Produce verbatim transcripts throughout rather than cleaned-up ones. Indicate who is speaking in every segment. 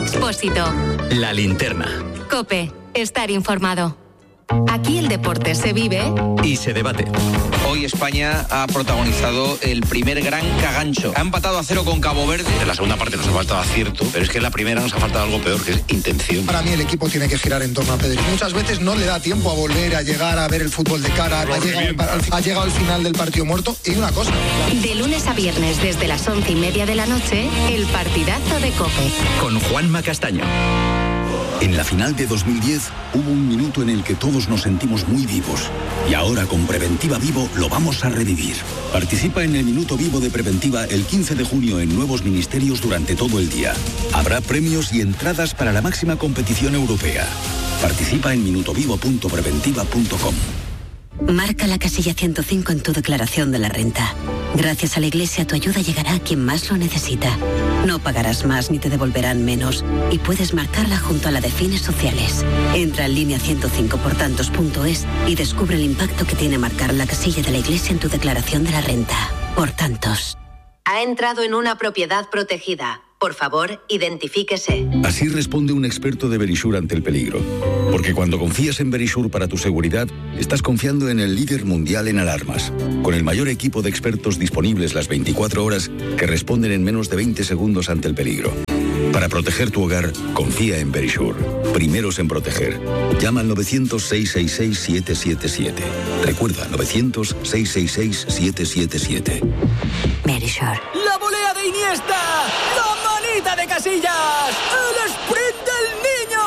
Speaker 1: Expósito.
Speaker 2: La Linterna.
Speaker 1: COPE. Estar informado. Aquí el deporte se vive
Speaker 2: y se debate.
Speaker 3: Hoy España ha protagonizado el primer gran cagancho. Ha empatado a cero con Cabo Verde.
Speaker 4: En la segunda parte nos ha faltado acierto, pero es que en la primera nos ha faltado algo peor, que es intención.
Speaker 5: Para mí el equipo tiene que girar en torno a Pedri. Muchas veces no le da tiempo a volver a llegar a ver el fútbol de cara. Ha llegado, al, ha llegado al final del partido muerto. Y una cosa.
Speaker 1: De lunes a viernes desde las once y media de la noche, el partidazo de COPE.
Speaker 2: Con Juanma Castaño.
Speaker 6: En la final de dos mil diez hubo un minuto en el que todos nos sentimos muy vivos. Y ahora con Preventiva Vivo lo vamos a revivir. Participa en el Minuto Vivo de Preventiva el quince de junio en nuevos ministerios durante todo el día. Habrá premios y entradas para la máxima competición europea. Participa en minutovivo punto preventiva punto com.
Speaker 7: Marca la casilla ciento cinco en tu declaración de la renta. Gracias a la Iglesia tu ayuda llegará a quien más lo necesita. No pagarás más ni te devolverán menos. Y puedes marcarla junto a la de fines sociales. Entra en línea ciento cinco por tantos punto es y descubre el impacto que tiene marcar la casilla de la Iglesia en tu declaración de la renta. Por tantos.
Speaker 8: Ha entrado en una propiedad protegida. Por favor, identifíquese.
Speaker 6: Así responde un experto de Verisure ante el peligro. Porque cuando confías en Verisure para tu seguridad, estás confiando en el líder mundial en alarmas. Con el mayor equipo de expertos disponibles las veinticuatro horas que responden en menos de veinte segundos ante el peligro. Para proteger tu hogar, confía en Verisure. Primeros en proteger. Llama al novecientos, seiscientos sesenta y seis, siete siete siete. Recuerda, novecientos, seiscientos sesenta y seis, siete siete siete.
Speaker 7: Verisure.
Speaker 9: ¡La volea de Iniesta! ¡La manita de Casillas! ¡El sprint del niño!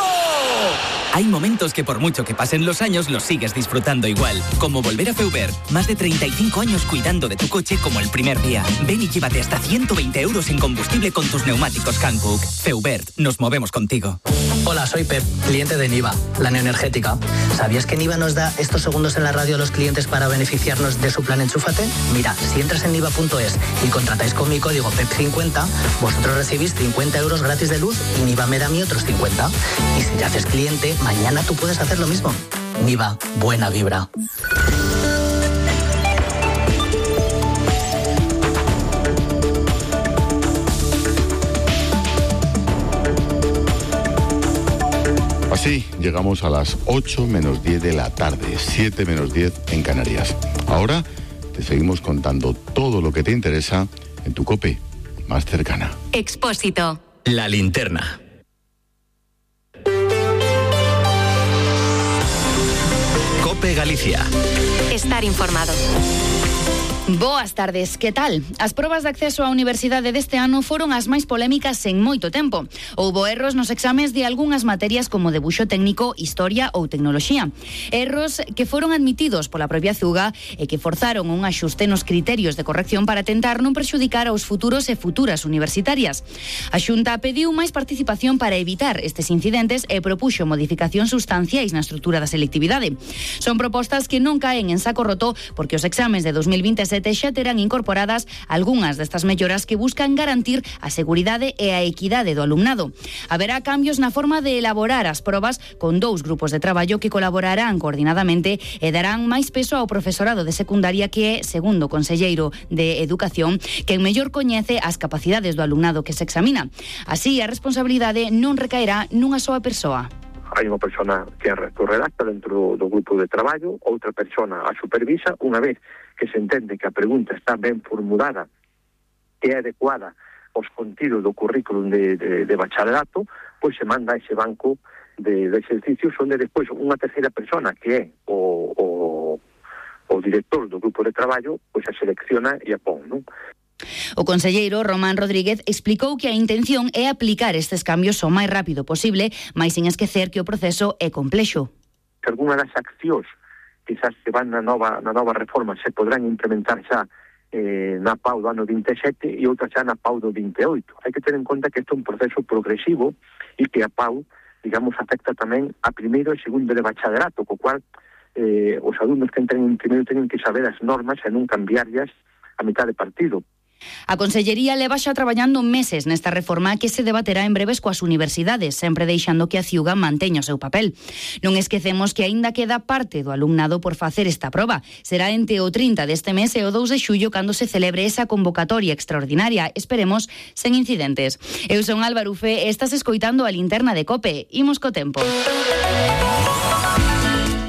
Speaker 10: Hay momentos que por mucho que pasen los años los sigues disfrutando igual. Como volver a Feubert. Más de treinta y cinco años cuidando de tu coche como el primer día. Ven y llévate hasta ciento veinte euros en combustible con tus neumáticos Hankook. Feubert. Nos movemos contigo.
Speaker 11: Hola, soy Pep, cliente de Niva, la neoenergética. ¿Sabías que Niva nos da estos segundos en la radio a los clientes para beneficiarnos de su plan Enchúfate? Mira, si entras en niva punto es y contratáis con mi código P E P cincuenta, vosotros recibís cincuenta euros gratis de luz y Niva me da a mí otros cincuenta. Y si te haces cliente, mañana tú puedes hacer lo mismo. Niva, buena vibra.
Speaker 12: Así llegamos a las ocho menos diez de la tarde, siete menos diez en Canarias. Ahora te seguimos contando todo lo que te interesa en tu COPE más cercana.
Speaker 1: Expósito.
Speaker 2: La Linterna. COPE Galicia.
Speaker 1: Estar informado.
Speaker 13: Boas tardes, que tal? As probas de acceso á universidade deste ano foron as máis polémicas en moito tempo. Houbo erros nos exames de algunhas materias como debuxo técnico, historia ou tecnoloxía. Erros que foron admitidos pola propia Zuga e que forzaron un axuste nos criterios de corrección para tentar non perxudicar aos futuros e futuras universitarias. A Xunta pediu máis participación para evitar estes incidentes e propuxo modificacións sustanciais na estrutura da selectividade. Son propostas que non caen en saco roto porque os exames de dos mil veintesete xa terán incorporadas algunhas destas melloras que buscan garantir a seguridade e a equidade do alumnado. Haberá cambios na forma de elaborar as probas con dous grupos de traballo que colaborarán coordinadamente e darán máis peso ao profesorado de secundaria que é, segundo o conselleiro de Educación, quen mellor coñece as capacidades do alumnado que se examina. Así, a responsabilidade non recaerá nunha soa persoa.
Speaker 14: Hai unha persona que redacta dentro do grupo de traballo, outra persona a supervisa. Unha vez que se entende que a pregunta está ben formulada e é adecuada aos contidos do currículum de, de, de bacharelato, pois se manda a ese banco de, de exercicios onde despois unha terceira persona que é o, o, o director do grupo de traballo pois a selecciona e a pon, non?
Speaker 13: O conselleiro Román Rodríguez explicou que a intención é aplicar estes cambios o máis rápido posible, mais sin esquecer que o proceso é complexo.
Speaker 14: Que algunha das accións quizás que van na nova, na nova reforma se podrán implementar xa eh, na P A U do ano vinte e sete e outras xa na P A U do vinte e oito. Hai que ter en conta que isto é un proceso progresivo e que a P A U, digamos, afecta tamén a primeiro e segundo de bacharelato, co cual eh, os alumnos que entren en primeiro teñen que saber as normas e non cambiarlas a mitad de partido.
Speaker 13: A Consellería leva xa traballando meses nesta reforma que se debaterá en breves coas universidades, sempre deixando que a Ciuga manteña o seu papel. Non esquecemos que aínda queda parte do alumnado por facer esta proba. Será entre o trinta deste mes e o dous de xullo cando se celebre esa convocatoria extraordinaria. Esperemos sen incidentes. Eu son Álvaro Ufé e estás escoitando a Linterna de Cope. Imos co tempo.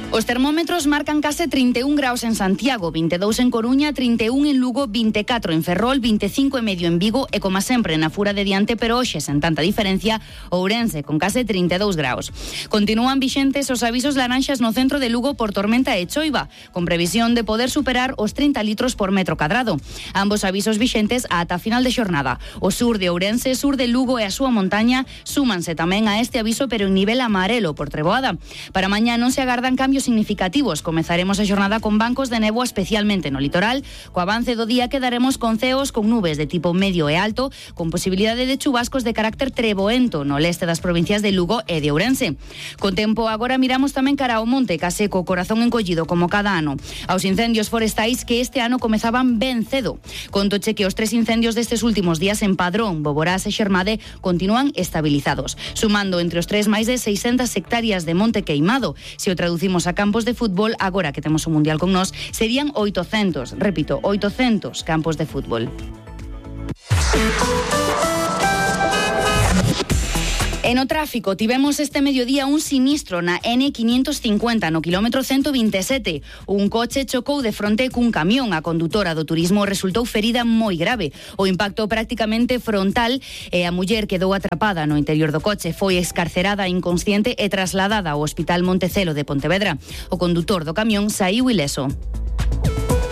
Speaker 13: Os termómetros marcan case trinta e un graus en Santiago, vinte e dous en Coruña, trinta e un en Lugo, vinte e catro en Ferrol, vinte e cinco e medio en Vigo e, como sempre, na Fura de diante, pero hoxe sen tanta diferencia, Ourense, con case trinta e dous graus. Continúan vixentes os avisos laranxas no centro de Lugo por tormenta e choiva, con previsión de poder superar os trinta litros por metro cadrado. Ambos avisos vixentes ata final de xornada. O sur de Ourense, sur de Lugo e a súa montaña súmanse tamén a este aviso, pero en nivel amarelo por treboada. Para mañá non se agardan cambios significativos. Comezaremos a xornada con bancos de néboa, especialmente no litoral. Co avance do día quedaremos con ceos con nubes de tipo medio e alto, con posibilidade de chubascos de carácter treboento no leste das provincias de Lugo e de Ourense. Con tempo, agora miramos tamén cara ao monte, case co corazón encollido como cada ano. Aos incendios forestais que este ano comezaban ben cedo. Contoche que os tres incendios destes últimos días en Padrón, Boborás e Xermade continúan estabilizados, sumando entre os tres máis de seiscentas hectáreas de monte queimado. Se o traducimos a campos de fútbol, agora que temos o Mundial con nós, serían oitocentos, repito, oitocentos campos de fútbol. E no tráfico, tivemos este mediodía un sinistro na ene quinientos cincuenta no quilómetro ciento veintisiete. Un coche chocou de fronte cun camión. A condutora do turismo resultou ferida moi grave. O impacto prácticamente frontal e a muller quedou atrapada no interior do coche. Foi escarcerada inconsciente e trasladada ao Hospital Montecelo de Pontevedra. O condutor do camión saíu ileso.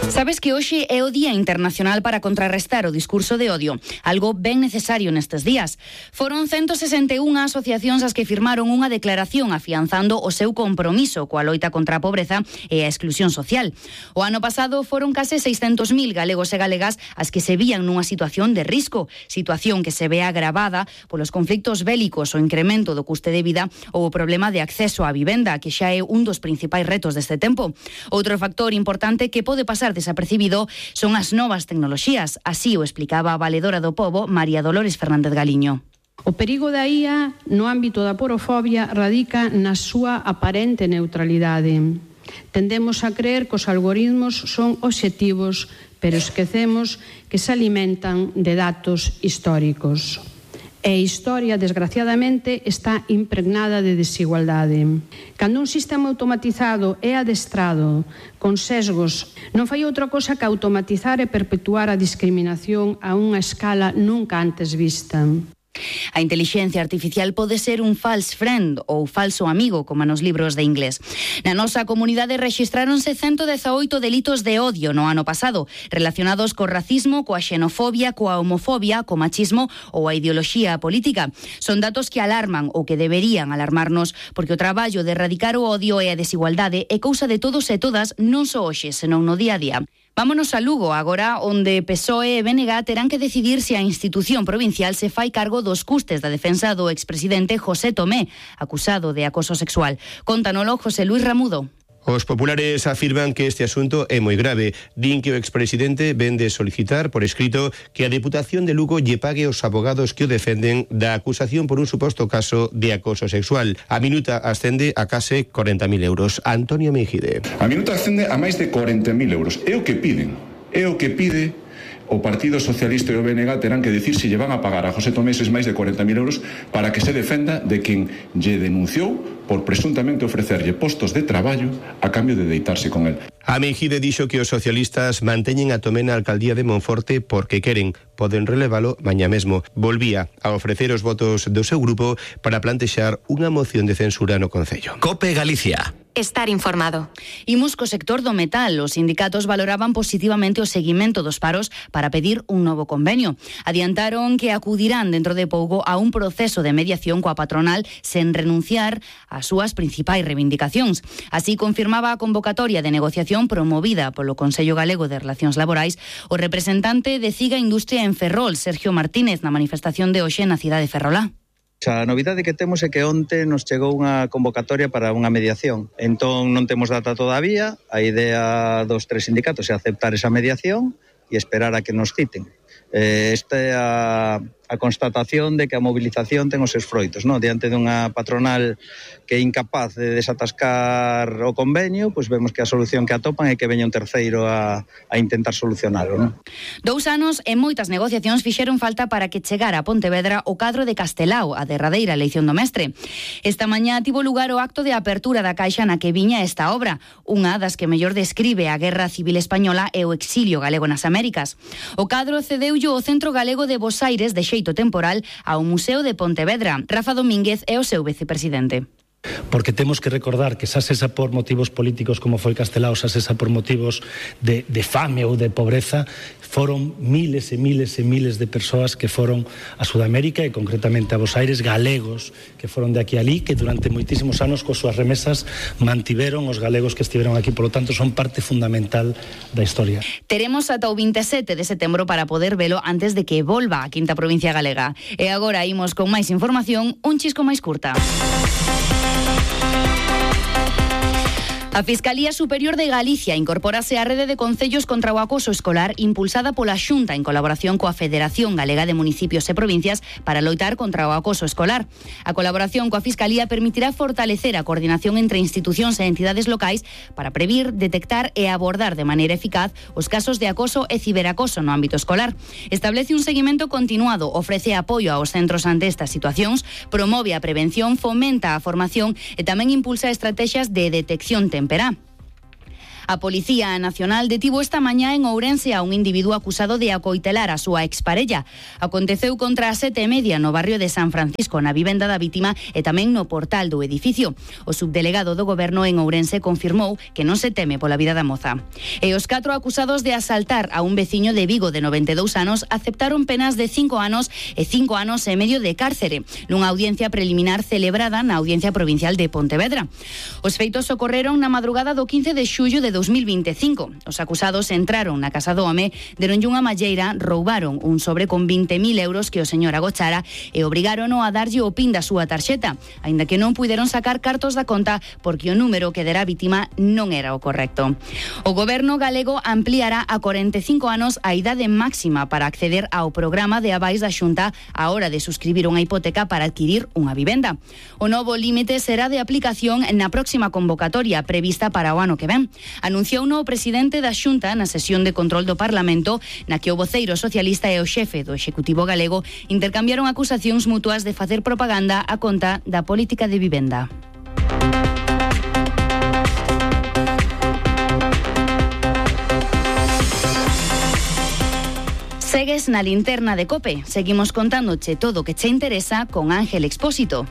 Speaker 13: Sabes que hoxe é o Día Internacional para contrarrestar o discurso de odio, algo ben necesario nestes días. Foron ciento sesenta e unha asociacións as que firmaron unha declaración afianzando o seu compromiso coa loita contra a pobreza e a exclusión social. O ano pasado foron case seiscentos mil galegos e galegas as que se vían nunha situación de risco, situación que se ve agravada polos conflictos bélicos, o incremento do custe de vida ou o problema de acceso á vivenda, que xa é un dos principais retos deste tempo. Outro factor importante que pode pasar desapercibido son as novas tecnoloxías. Así o explicaba a valedora do pobo, María Dolores Fernández Galiño.
Speaker 15: O perigo da I A no ámbito da porofobia radica na súa aparente neutralidade. Tendemos a creer que os algoritmos son obxectivos, pero esquecemos que se alimentan de datos históricos. E a historia, desgraciadamente, está impregnada de desigualdade. Cando un sistema automatizado é adestrado con sesgos, non fai outra cosa que automatizar e perpetuar a discriminación a unha escala nunca antes vista.
Speaker 13: A intelixencia artificial pode ser un false friend ou falso amigo, como nos libros de inglés. Na nosa comunidade rexistráronse ciento dezaoito delitos de odio no ano pasado, relacionados co racismo, coa xenofobia, coa homofobia, co machismo ou a ideoloxía política. Son datos que alarman ou que deberían alarmarnos, porque o traballo de erradicar o odio e a desigualdade é cousa de todos e todas, non só hoxe, senón no día a día. Vámonos a Lugo, agora, onde P S O E e B N G terán que decidir se a institución provincial se fai cargo dos custes da defensa do expresidente José Tomé, acusado de acoso sexual. Contanolo José Luis Ramudo.
Speaker 16: Os populares afirman que este asunto é moi grave. Din que o expresidente ven de solicitar por escrito que a Deputación de Lugo lle pague aos abogados que o defenden da acusación por un suposto caso de acoso sexual. A minuta ascende a case corenta mil euros. Antonio Mejide.
Speaker 17: A minuta ascende a máis de corenta mil euros. É o que piden. É o que pide o Partido Socialista e o B N G terán que dicir se lle van a pagar a José Tomé eses máis de corenta mil euros para que se defenda de quen lle denunciou por presuntamente ofrecerlle postos de traballo a cambio de deitarse con el.
Speaker 16: A Mejide dixo que os socialistas manteñen a Tomé na alcaldía de Monforte porque queren, poden relevalo mañá mesmo. Volvía a ofrecer os votos do seu grupo para plantexar unha moción de censura no Concello.
Speaker 2: Cope Galicia.
Speaker 1: Estar informado.
Speaker 13: Imos co sector do metal. Os sindicatos valoraban positivamente o seguimento dos paros para pedir un novo convenio. Adiantaron que acudirán dentro de pouco a un proceso de mediación coa patronal sen renunciar ás súas principais reivindicacións. Así confirmaba a convocatoria de negociación promovida polo Consello Galego de Relacións Laborais o representante de Ciga Industria en Ferrol, Sergio Martínez, na manifestación de hoxe na cidade de Ferrolá.
Speaker 18: A novidade que temos é que onte nos chegou unha convocatoria para unha mediación. Entón non temos data todavía. A idea dos tres sindicatos é aceptar esa mediación e esperar a que nos citen. eh, esta a, a constatación de que a mobilización ten os seus froitos, non? Diante dunha patronal que é incapaz de desatascar o convenio, pois vemos que a solución que atopan é que veña un terceiro a, a intentar solucionalo, non?
Speaker 13: Dous anos e moitas negociacións fixeron falta para que chegara a Pontevedra o cadro de Castelao, a derradeira eleición do mestre. Esta mañá tivo lugar o acto de apertura da caixa na que viña esta obra, unha das que mellor describe a Guerra Civil Española e o exilio galego nas Américas. O cadro cedeulle o Centro Galego de Bosaires de xeito temporal ao Museo de Pontevedra. Rafa Domínguez é o seu vicepresidente.
Speaker 19: Porque temos que recordar que xa sesa por motivos políticos como foi Castelao, xa sesa por motivos de, de fame ou de pobreza, foron miles e miles e miles de persoas que foron a Sudamérica e concretamente a Bos Aires, galegos que foron de aquí a alí, que durante moitísimos anos coas súas remesas mantiveron os galegos que estiveron aquí, polo tanto son parte fundamental da historia.
Speaker 13: Teremos ata o vinte e sete de setembro para poder velo antes de que volva a quinta provincia galega. E agora imos con máis información, un chisco máis curta. A Fiscalía Superior de Galicia incorpórase á rede de concellos contra o acoso escolar impulsada pola Xunta en colaboración coa Federación Galega de Municipios e Provincias para loitar contra o acoso escolar. A colaboración coa Fiscalía permitirá fortalecer a coordinación entre institucións e entidades locais para previr, detectar e abordar de maneira eficaz os casos de acoso e ciberacoso no ámbito escolar. Establece un seguimento continuado, ofrece apoio aos centros ante estas situacións, promove a prevención, fomenta a formación e tamén impulsa estrategias de detección temprana. A Policía Nacional detivo esta mañá en Ourense a un individuo acusado de acoitelar a súa exparella. Aconteceu contra as sete e media no barrio de San Francisco, na vivenda da vítima e tamén no portal do edificio. O subdelegado do Goberno en Ourense confirmou que non se teme pola vida da moza. E os catro acusados de asaltar a un veciño de Vigo de noventa e dous anos aceptaron penas de cinco anos e cinco anos e medio de cárcere, nunha audiencia preliminar celebrada na Audiencia Provincial de Pontevedra. Os feitos ocorreron na madrugada do quince de xullo de dos mil vinte e cinco. Os acusados entraron na casa do home, deronlle unha malleira, roubaron un sobre con vinte mil euros que o señor agochara e obrigárono a darlle o pin da súa tarxeta, aínda que non puideron sacar cartos da conta porque o número que dera a vítima non era o correcto. O Goberno galego ampliará a corenta e cinco anos a idade máxima para acceder ao programa de avais da Xunta á hora de suscribir unha hipoteca para adquirir unha vivenda. O novo límite será de aplicación na próxima convocatoria prevista para o ano que ven. Anunciou o presidente da Xunta na sesión de control do Parlamento, na que o voceiro socialista e o xefe do Executivo galego intercambiaron acusacións mutuas de facer propaganda a conta da política de vivenda. Segues na linterna de COPE. Seguimos contándoche todo o que che interesa con Ángel Expósito.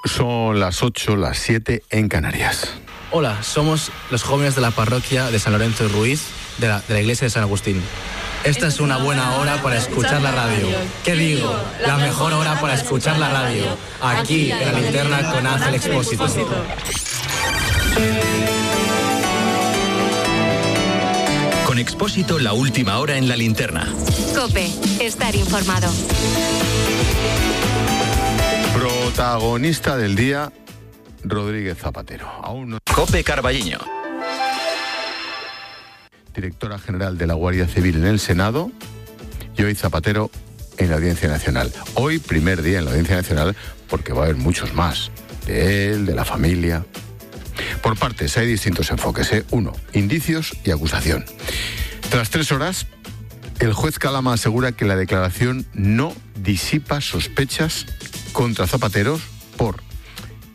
Speaker 12: Son las ocho, las siete en Canarias.
Speaker 20: Hola, somos los jóvenes de la parroquia de San Lorenzo de Ruiz, de la, de la iglesia de San Agustín. Esta es una buena hora para escuchar la radio. ¿Qué digo? La mejor hora para escuchar la radio. Aquí, en la linterna con Ángel Expósito.
Speaker 2: Con Expósito, la última hora en la linterna.
Speaker 1: COPE, estar informado.
Speaker 12: Protagonista del día, Rodríguez Zapatero. Aún no...
Speaker 2: COPE Carballiño.
Speaker 12: Directora General de la Guardia Civil en el Senado y hoy Zapatero en la Audiencia Nacional. Hoy primer día en la Audiencia Nacional porque va a haber muchos más. De él, de la familia. Por partes hay distintos enfoques, ¿eh? Uno, indicios y acusación. Tras tres horas, el juez Calama asegura que la declaración no disipa sospechas contra Zapatero por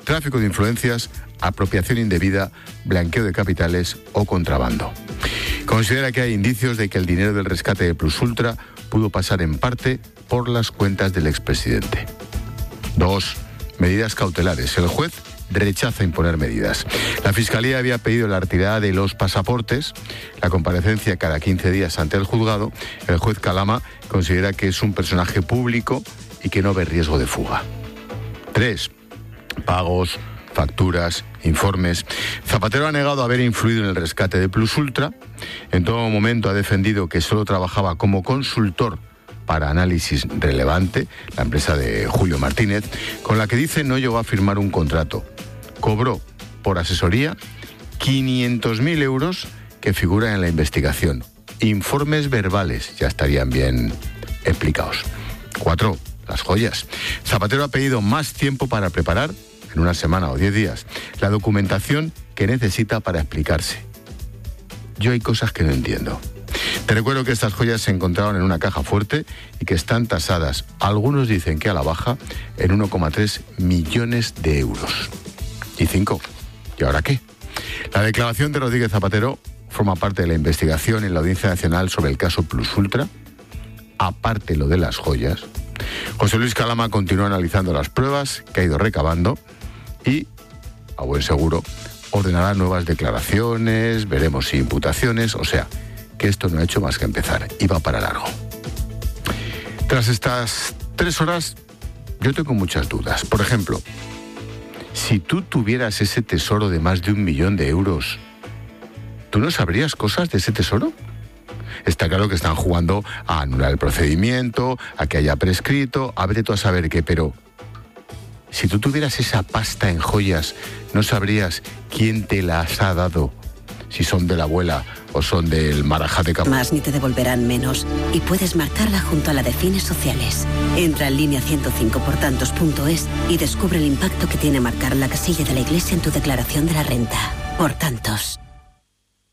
Speaker 12: tráfico de influencias, apropiación indebida, blanqueo de capitales o contrabando. Considera que hay indicios de que el dinero del rescate de Plus Ultra pudo pasar en parte por las cuentas del expresidente. Dos, medidas cautelares. El juez rechaza imponer medidas. La Fiscalía había pedido la retirada de los pasaportes, la comparecencia cada quince días ante el juzgado. El juez Calama considera que es un personaje público y que no ve riesgo de fuga. Tres, pagos, facturas, informes. Zapatero ha negado haber influido en el rescate de Plus Ultra. En todo momento ha defendido que solo trabajaba como consultor para Análisis Relevante, la empresa de Julio Martínez, con la que dice no llegó a firmar un contrato. cobró por asesoría quinientos mil euros que figuran en la investigación. Informes verbales ya estarían bien explicados. Cuatro, las joyas. Zapatero ha pedido más tiempo para preparar, en una semana o diez días, la documentación que necesita para explicarse. Yo hay cosas que no entiendo. Te recuerdo que estas joyas se encontraron en una caja fuerte y que están tasadas, algunos dicen que a la baja, en uno coma tres millones de euros. Y cinco, ¿y ahora qué? La declaración de Rodríguez Zapatero forma parte de la investigación en la Audiencia Nacional sobre el caso Plus Ultra. Aparte lo de las joyas, José Luis Calama continúa analizando las pruebas que ha ido recabando y, a buen seguro, ordenará nuevas declaraciones, veremos si imputaciones, o sea, que esto no ha hecho más que empezar y va para largo. Tras estas tres horas, yo tengo muchas dudas. Por ejemplo, si tú tuvieras ese tesoro de más de un millón de euros, ¿tú no sabrías cosas de ese tesoro? Está claro que están jugando a anular el procedimiento, a que haya prescrito, a ver tú a saber qué, pero si tú tuvieras esa pasta en joyas, ¿no sabrías quién te las ha dado? Si son de la abuela o son del Marajá de Campo.
Speaker 7: Más ni te devolverán menos. Y puedes marcarla junto a la de fines sociales. Entra en línea ciento cinco por tantos punto es y descubre el impacto que tiene marcar la casilla de la Iglesia en tu declaración de la renta. Por tantos.